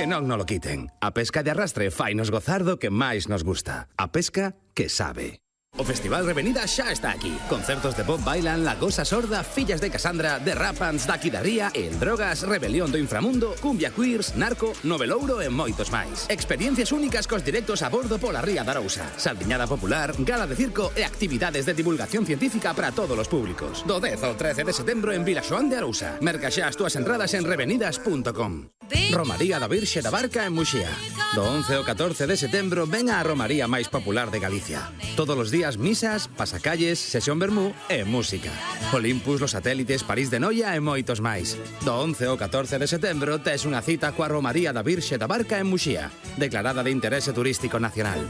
non lo quiten. A pesca de arrastre fainos gozar do que máis nos gusta. A pesca que sabe. O Festival Revenida xa está aquí. Concertos de Bob Bailan, La Gosa Sorda, Fillas de Casandra, The Rapans, Daqui Daría, El Drogas, Rebelión do Inframundo, Cumbia Queers, Narco, Novelouro e moitos máis. Experiencias únicas cos directos a bordo pola Ría da Arousa. Saldiñada popular, gala de circo e actividades de divulgación científica para todos os públicos. Do 10 ao 13 de setembro en Vilaxoán de Arousa. Merca xa as túas entradas en revenidas.com. Romaría da Virxe da Barca en Muxía. Do 11 ao 14 de setembro ven a romaría máis popular de Galicia. Todos os días misas, pasacalles, sesión vermú e música. Olympus, Los Satélites, París de Noia e moitos máis. Do 11 ao 14 de setembro tes unha cita coa Romaría da Virxe da Barca en Muxía, declarada de interese turístico nacional.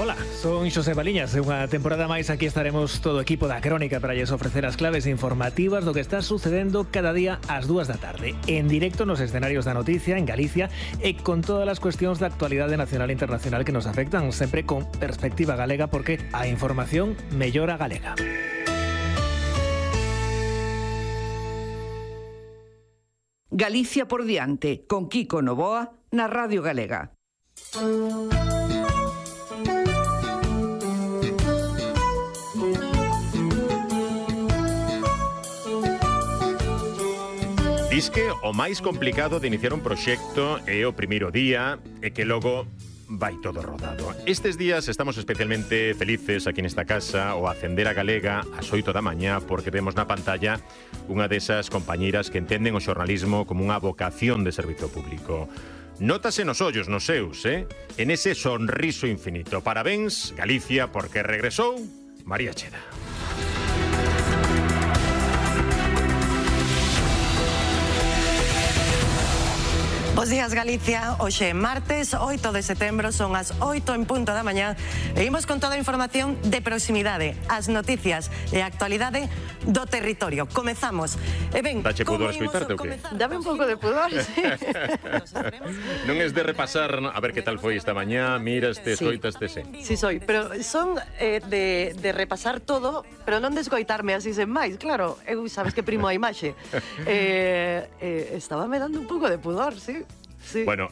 Hola, son Xosé Baliñas. Unha temporada máis aquí estaremos todo o equipo da Crónica para lles ofrecer as claves informativas do que está sucedendo cada día ás 2 da tarde, en directo nos escenarios da noticia en Galicia e con todas as cuestións da actualidade nacional e internacional que nos afectan, sempre con perspectiva galega, porque a información mellora galega. Galicia por diante, con Kiko Novoa na Radio Galega. Disque o máis complicado de iniciar un proxecto é o primeiro día e que logo vai todo rodado. Estes días estamos especialmente felices aquí nesta casa ao acender a Galega ás 8 da mañá porque vemos na pantalla unha desas compañeiras que entenden o xornalismo como unha vocación de servizo público. Nótase nos ollos, nos seus, en ese sonriso infinito. Parabéns, Galicia, porque regresou María Cheda. Bos días, Galicia. Hoxe é martes, 8 de setembro, son as 8 en punto da mañá e imos con toda a información de proximidade, as noticias e a actualidade do territorio. Comezamos. E ben, dache pudor escoitarte ou que? Dame un pouco de pudor, sí. Non es de repasar a ver que tal foi esta mañá, miraste, escoitaste, sí. Sí soy, pero son de repasar todo, pero non de escoitarme así sen máis, claro. Eu sabes que primo a imaxe. Estaba me dando un pouco de pudor, sí. Sí. Bueno,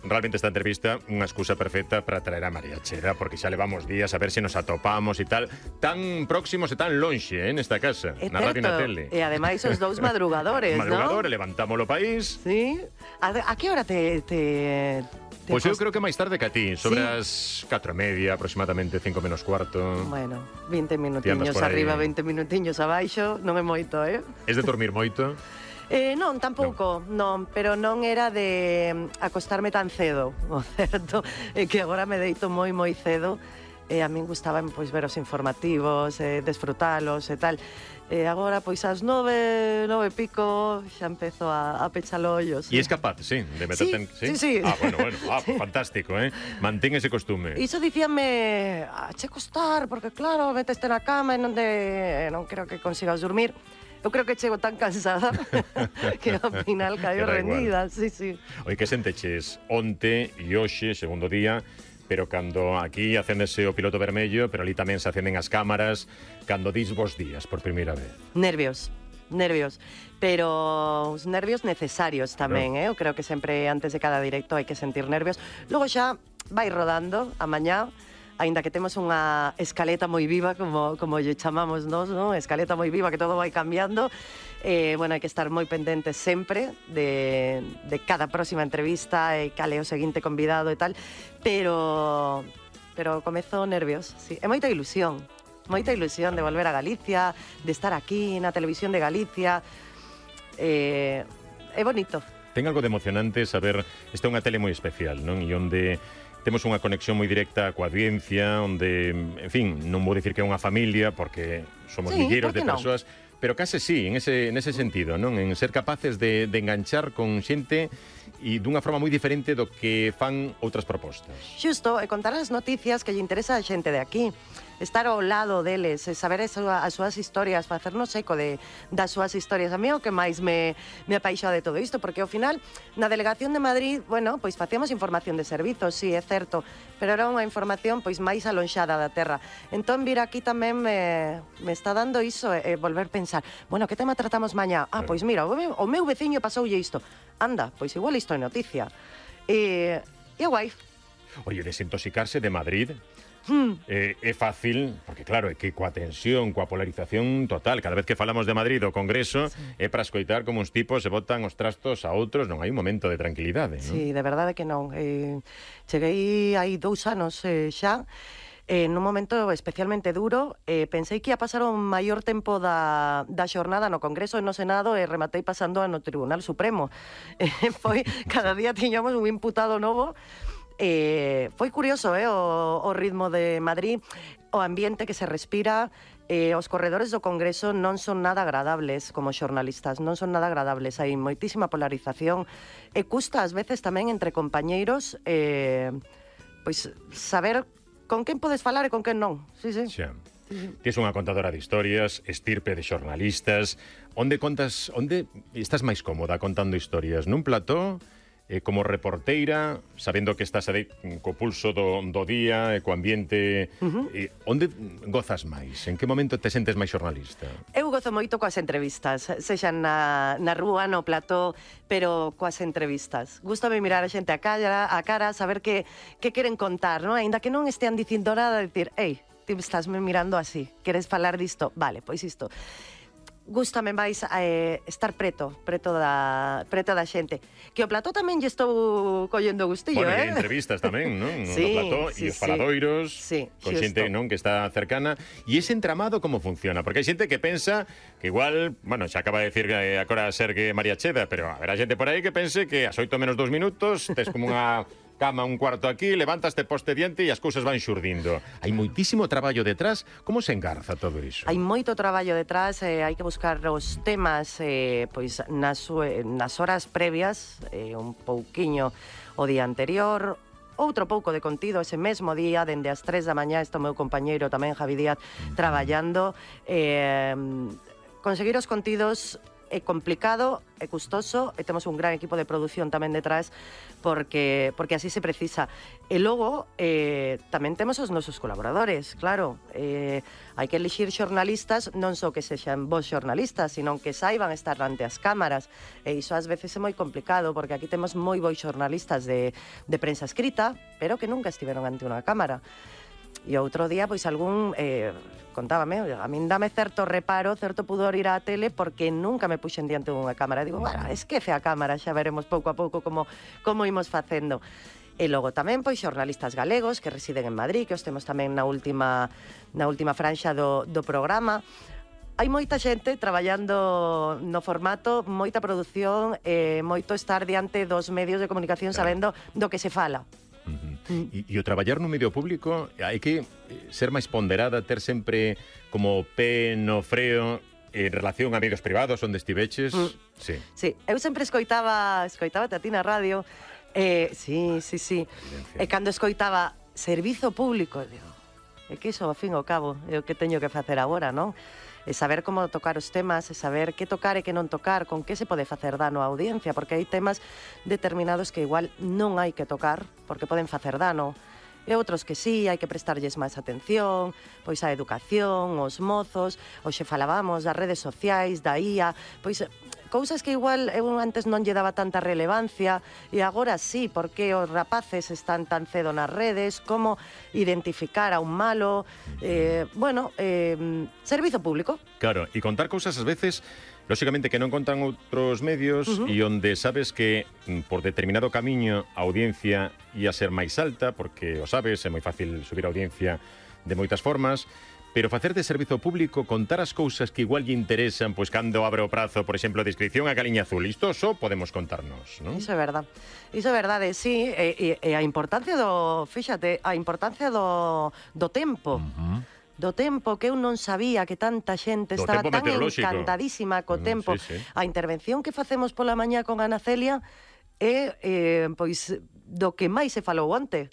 realmente esta entrevista unha excusa perfecta para traer a María Cheda, porque xa levamos días a ver se nos atopamos e tal, tan próximos e tan lonxe, nesta casa, na radio e na tele. E ademais os dous madrugadores, Madrugadores, levantámolo país. Sí. A que hora te Pois eu creo que máis tarde que a ti, sobre as 4:30, aproximadamente 5 menos cuarto. Bueno, 20 minutiños arriba, 20 minutiños abaixo, non é moito, Es de dormir moito? Non, tampouco, non, pero non era de acostarme tan cedo, o certo é que agora me deito moi cedo e a min gustaban pois ver os informativos, desfrutalos e tal. E agora, pois, ás 9 e pico, xa empezo a pechar ollos. E es capaz, sí, de meterte en... Sí. Bueno, fantástico, Mantén ese costume. Iso dicíanme, che costar, porque claro, meteste na cama e non creo que consigas dormir. Eu creo que chego tan cansada que ao final caio rendida, sí. Oi, que senteches onte e hoxe, segundo día, pero cando aquí acéndese o piloto vermello, pero ali tamén se acenden as cámaras, cando dis vos días por primeira vez? Nervios, pero os nervios necesarios tamén, Eu creo que sempre antes de cada directo hai que sentir nervios. Logo xa vai rodando a mañá, aínda que temos unha escaleta moi viva, como lle chamamos nós, non? Escaleta moi viva, que todo vai cambiando. Bueno, hai que estar moi pendentes sempre de cada próxima entrevista e cal é o seguinte convidado e tal, pero comezo nervios, sí. E moita ilusión de volver a Galicia, de estar aquí na televisión de Galicia. É bonito. Ten algo de emocionante saber, esta é unha tele moi especial, non? E onde temos unha conexión moi directa coa audiencia, onde, en fin, non vou dicir que é unha familia, porque somos milleiros de persoas, pero case sí, nese sentido, non? En ser capaces de enganchar con xente e dunha forma moi diferente do que fan outras propostas. Xusto, e contar as noticias que lle interesa a xente de aquí. estar ao lado deles, saber as súas historias, facernos eco das súas historias. A mí é o que máis me apaixa de todo isto, porque ao final, na delegación de Madrid, bueno, pois facíamos información de servizos, sí, é certo, pero era unha información pois máis alonxada da terra. Entón, vir aquí tamén me está dando iso, volver a pensar, bueno, que tema tratamos mañá? Ah, pois mira, o meu veciño pasoulle isto. Anda, pois igual isto é noticia. E é guai. Oye, desintoxicarse de Madrid é fácil, porque claro, é que coa tensión, coa polarización total, cada vez que falamos de Madrid o Congreso, é para escoitar como uns tipos se botan os trastos a outros, non hai un momento de tranquilidade, non? Sí, de verdade que non. Cheguei hai 2 anos xa, nun momento especialmente duro, pensei que ia pasar o maior tempo da xornada no Congreso e no Senado e rematei pasando no Tribunal Supremo. Foi, cada día tiñamos un imputado novo. Foi curioso o ritmo de Madrid, o ambiente que se respira. Os corredores do Congreso non son nada agradables como xornalistas, non son nada agradables, hai moitísima polarización e custa ás veces tamén entre compañeiros pois saber con quen podes falar e con quen non. Sí. Xa. Tes unha contadora de historias, estirpe de xornalistas. Onde estás máis cómoda contando historias? Nun plató? Como reporteira, sabendo que estás aí co pulso do día, co ambiente, onde gozas máis? En que momento te sentes máis xornalista? Eu gozo moito coas entrevistas, sexan na rúa, no plató, pero coas entrevistas. Gústame mirar a xente a cara, saber que queren contar, non? Ainda que non estean dicindo nada, dicir, ei, ti estás me mirando así, queres falar disto? Vale, pois isto. Gústame máis estar preto da xente. Que o plató tamén lle estou collendo gustillo, Bueno, e entrevistas tamén, non? Sí, no plató, e os faladoiros, con xente, non, que está cercana. E ese entramado como funciona? Porque hai xente que pensa que igual, bueno, xa acaba de decir agora Sergue María Cheda, pero haberá xente por aí que pense que as 8 menos 2 minutos tes como unha cama un cuarto aquí, levantaste poste diante e as cousas van xurdindo. Hai moitísimo traballo detrás. Como se engarza todo iso? Hai moito traballo detrás, hai que buscar os temas pois nas horas previas, un pouquiño o día anterior, outro pouco de contido ese mesmo día, dende as 3 da mañá, está o meu compañeiro tamén, Javi Díaz, traballando. Conseguir os contidos é complicado, é custoso, e temos un gran equipo de produción tamén detrás, porque así se precisa. E logo, tamén temos os nosos colaboradores, claro. Hai que elixir xornalistas, non só que sexan bons xornalistas, sino que saiban estar ante as cámaras. E iso ás veces é moi complicado, porque aquí temos moi bons xornalistas de prensa escrita, pero que nunca estiveron ante unha cámara. E outro día, pois algún... contábame, a min dame certo reparo, certo pudor ir á tele porque nunca me puxen diante dunha cámara. Digo, bueno, esquece a cámara, xa veremos pouco a pouco como imos facendo. E logo tamén, pois, xornalistas galegos que residen en Madrid, que os temos tamén na última franxa do programa. Hai moita xente traballando no formato, moita produción, moito estar diante dos medios de comunicación sabendo do que se fala. E o traballar no medio público hai que ser máis ponderada, ter sempre como pé no freo en relación a medios privados onde estiveches. Sí, eu sempre escoitaba a ti na radio. Sí. E cando escoitaba servizo público, digo, é que iso, ao fin e ao cabo, é o que teño que facer agora, non? E saber como tocar os temas, e saber que tocar e que non tocar, con que se pode facer dano á audiencia, porque hai temas determinados que igual non hai que tocar, porque poden facer dano, e outros que sí, hai que prestarlles máis atención, pois a educación, os mozos, hoxe falábamos das redes sociais, da IA, pois cousas que igual eu antes non lle daba tanta relevancia e agora sí, porque os rapaces están tan cedo nas redes, como identificar a un malo, servizo público. Claro, e contar cousas ás veces, lóxicamente que non contan outros medios e onde sabes que por determinado camiño a audiencia ia ser máis alta, porque o sabes, é moi fácil subir a audiencia de moitas formas, pero facer de servizo público, contar as cousas que igual lle interesan, pois cando abre o prazo, por exemplo, de inscripción a Galiña Azul, isto só podemos contarnos, non? Iso é verdade, sí, e a importancia do tempo. Do tempo, que eu non sabía que tanta xente estaba tan encantadísima co tempo. Sí. A intervención que facemos pola mañá con Ana Celia é, pois, do que máis se falou onte.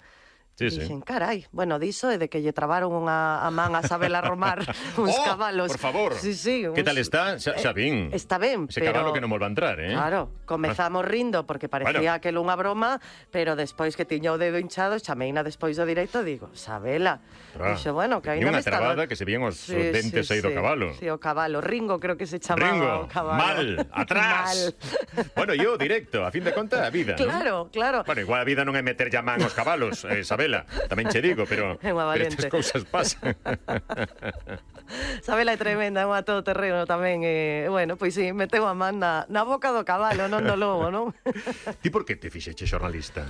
Sí, Dixen, carai, bueno, diso é de que lle trabaron a man a Sabela Romar uns cabalos. Por favor. Sí, sí. Que tal está? Xa vin. Está ben, Ese pero... cabalo que non volva a entrar, Claro, comezamos rindo porque parecía aquel unha broma, pero despois que tiña o dedo hinchado, chameina despois do directo, digo, Sabela. Dixo, bueno, que ainda unha me está... trabada que se vían os dentes aí do cabalo. Sí, o cabalo. Ringo creo que se chamaba Ringo, o cabalo. mal, atrás. Bueno, yo directo, a fin de conta, a vida, Claro, ¿no? claro. Bueno, igual a vida non é meter ya man aos cabalos, Sabela, tamén che digo, pero estas cousas pasan. Sabela é tremenda, é unha todoterreno tamén. Bueno, pois sí, meteu a man na boca do cabalo, non do lobo, non? Ti por que te fixeche xornalista?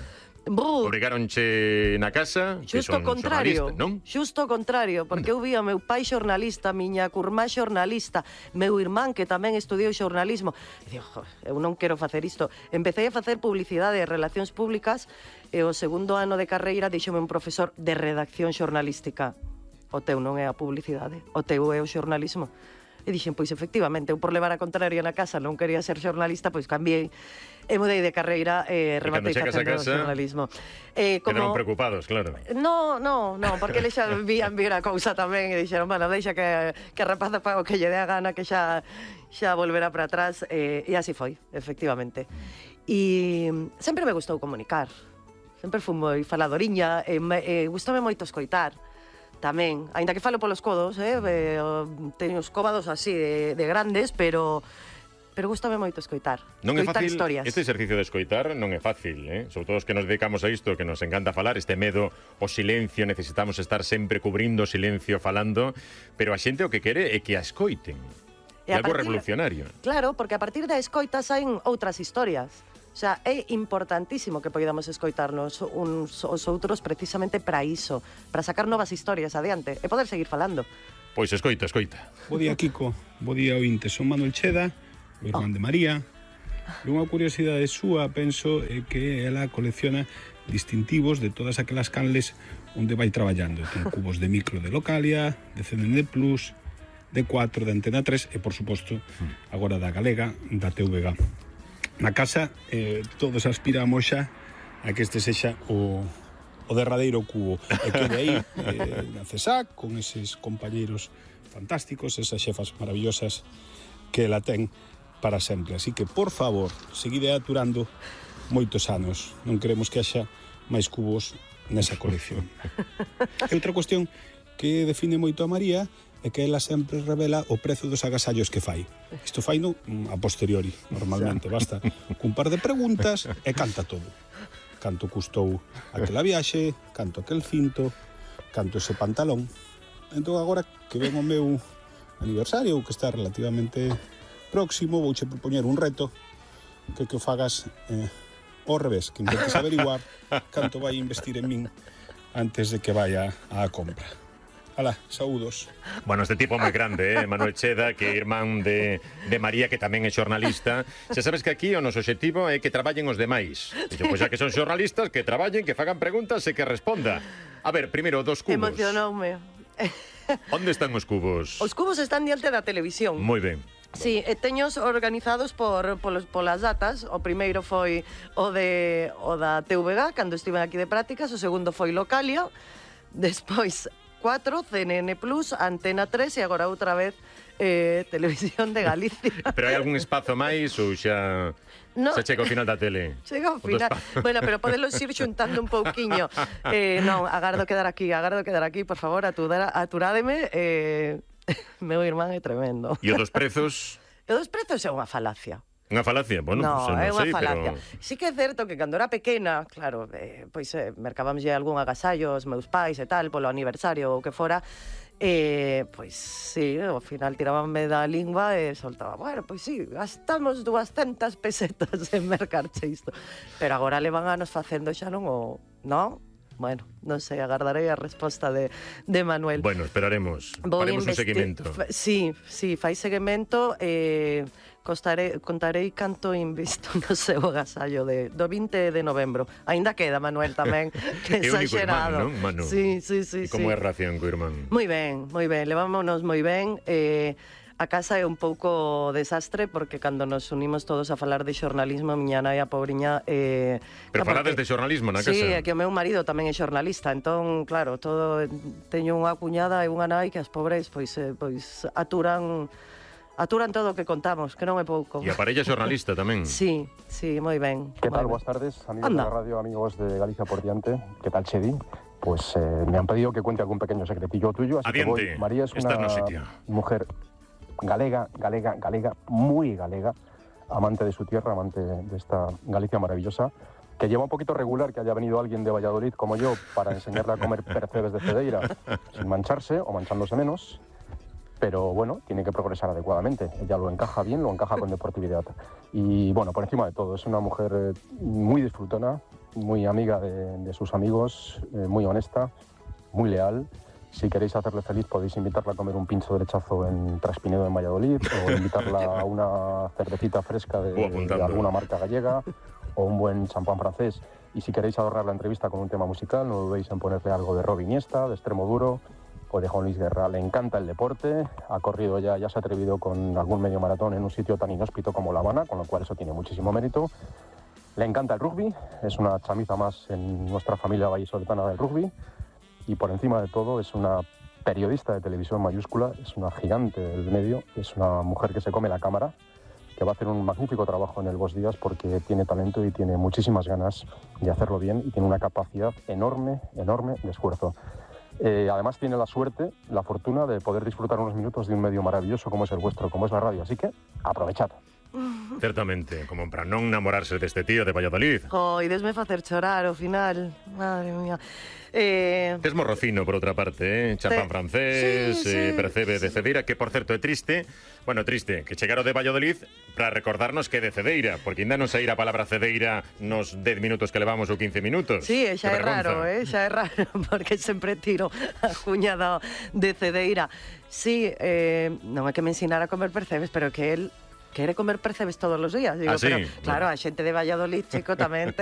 Brr. Obrigaronche na casa? Xusto o contrario, non? Xusto o contrario, porque eu vía meu pai xornalista, miña curmá xornalista, meu irmán que tamén estudiou xornalismo. E digo, eu non quero facer isto. Empecé a facer publicidade e relacións públicas e o segundo ano de carreira díxome un profesor de redacción xornalística. O teu non é a publicidade, o teu é o xornalismo. E dixen, pois efectivamente, eu por levar a contraria na casa non quería ser xornalista, pois cambiei e mudei de carreira e rematei facendo xornalismo. Quedaron preocupados, claro. No, porque eles xa vían vir a cousa tamén e dixeron, bueno, deixa que a rapaza paga o que lle dé a gana, que xa volverá para atrás, e así foi, efectivamente. E sempre me gustou comunicar, sempre fui moi faladoriña, e gustame moito escoitar. Tamén, aínda que falo polos codos, teño os cóbados así de grandes, pero gustame moito escoitar. Non é fácil, historias. este exercicio de escoitar non é fácil, sobre todo os que nos dedicamos a isto, que nos encanta falar, este medo ao silencio, necesitamos estar sempre cubrindo o silencio falando, pero a xente o que quere é que a escoiten. É algo revolucionario. Claro, porque a partir da escoita saen outras historias. O sea, é importantísimo que podamos escoitarnos uns aos outros precisamente para iso, para sacar novas historias adiante e poder seguir falando. Pois escoita. Bo día, Kiko. Bo día, ointe. Son Manuel Cheda, o irmán de María. E unha curiosidade súa, penso, é que ela colecciona distintivos de todas aquelas canles onde vai traballando. Ten cubos de micro de Localia, de CNN+, de 4, de Antena 3 e, por suposto, agora da Galega, da TVG. Na casa todos aspiramos xa a que este sexa o derradeiro cubo e que de aí na CESAC con eses compañeiros fantásticos, esas xefas maravillosas que la ten para sempre. Así que, por favor, seguide aturando moitos anos. Non queremos que haxa máis cubos nesa colección. E outra cuestión que define moito a María é que ela sempre revela o prezo dos agasallos que fai. Isto faino a posteriori, normalmente. Basta cun par de preguntas e canta todo. Canto custou aquela viaxe, canto aquel cinto, canto ese pantalón. Entón, agora que ven o meu aniversario, que está relativamente próximo, vouche propoñer un reto que o fagas ao revés, que intentes averiguar canto vai investir en min antes de que vaya á compra. Alá, saúdos. Bueno, este tipo moi grande, Manuel Cheda, que é irmán de María, que tamén é xornalista. Xa sabes que aquí o noso obxectivo é que traballen os demais. Dixo, pois xa que son xornalistas, que traballen, que fagan preguntas e que responda. A ver, primeiro, dos cubos. Emocionoume. Onde están os cubos? Os cubos están diante da televisión. Moi ben. Sí, teños organizados polas datas. O primeiro foi o da TVG, cando estive aquí de prácticas. O segundo foi Localia. Despois 4, CNN+, Antena 3 e agora outra vez Televisión de Galicia. Pero hai algún espazo máis ou xa chega ao final da tele? Chega ao final. Bueno, pero podelos ir xuntando un pouquiño. Non, agardo quedar aquí, por favor, aturádeme. Meu irmán é tremendo. E o dos prezos? O dos prezos é unha falacia. Unha falacia? Bueno, no, pues, é unha falacia. Pero... Sí que é certo que cando era pequena, claro, pois mercábamos algún agasallo aos meus pais e tal, polo aniversario ou que fora, pois sí, ao final tirábanme da lingua e soltaba, bueno, pois sí, gastamos 200 pesetas en mercarche isto. Pero agora levan anos facendo xa non o... Non? Bueno, non sei, agardarei a resposta de Manuel. Bueno, esperaremos. Faremos un seguimento. Sí, fai seguimento. Contarei canto invisto no seu agasallo do 20 de novembro. Ainda queda, Manuel, tamén. Que exagerado. É o único irmán, non, Manu? Sí. E como é a relación co irmán? Moi ben. Levámonos moi ben. A casa é un pouco desastre porque cando nos unimos todos a falar de xornalismo, miña nai a pobriña... Pero falades de xornalismo na casa? Sí, é que o meu marido tamén é xornalista, entón, claro, teño unha cuñada e unha nai que as pobres pois aturan todo o que contamos, que non é pouco. E a parella xornalista tamén. Sí, moi ben. ¿Qué tal? Buenas tardes, amigos de la radio, amigos de Galicia por diante. ¿Qué tal, Chedi? Pues me han pedido que cuente algún pequeño secretillo tuyo, así Adiante. que voy. María es una mujer galega, muy galega, amante de su tierra, amante de esta Galicia maravillosa, que lleva un poquito regular que haya venido alguien de Valladolid como yo para enseñarle a comer percebes de Cedeira sin mancharse o manchándose menos. Pero bueno, tiene que progresar adecuadamente. Ella lo encaja bien, lo encaja con deportividad. Y bueno, por encima de todo, es una mujer muy disfrutona, muy amiga de sus amigos, muy honesta, muy leal. Si queréis hacerle feliz, podéis invitarla a comer un pincho de lechazo en Traspinedo, en Valladolid, o invitarla a una cervecita fresca de alguna marca gallega, o un buen champán francés. Y si queréis adornar la entrevista con un tema musical, no dudéis en ponerle algo de Rob Iniesta, de Extremo Duro, o de Juan Luis Guerra. Le encanta el deporte, ha corrido ya se ha atrevido con algún medio maratón en un sitio tan inhóspito como La Habana, con lo cual eso tiene muchísimo mérito. Le encanta el rugby, es una chamiza más en nuestra familia vallisoletana del rugby, y por encima de todo es una periodista de televisión mayúscula, es una gigante del medio, es una mujer que se come la cámara, que va a hacer un magnífico trabajo en el Bos Días porque tiene talento y tiene muchísimas ganas de hacerlo bien y tiene una capacidad enorme de esfuerzo. Además tiene la suerte, la fortuna de poder disfrutar unos minutos de un medio maravilloso como es el vuestro, como es la radio, así que aprovechad. Certamente, como para non namorarse deste tío de Valladolid. Desme facer chorar ao final, madre mía. Tes morrocino, por outra parte, champán francés, percebe de Cedeira, que por certo é triste, que chegaro de Valladolid para recordarnos que é de Cedeira, porque ainda non saíra a palabra Cedeira nos 10 minutos que levamos ou 15 minutos. Sí, xa é raro, porque sempre tiro a cuñada de Cedeira. Sí, non é que me ensinara a comer percebes, pero que el quere comer percebes todos os días. Digo, pero claro, a xente de Valladolid, chico, tamén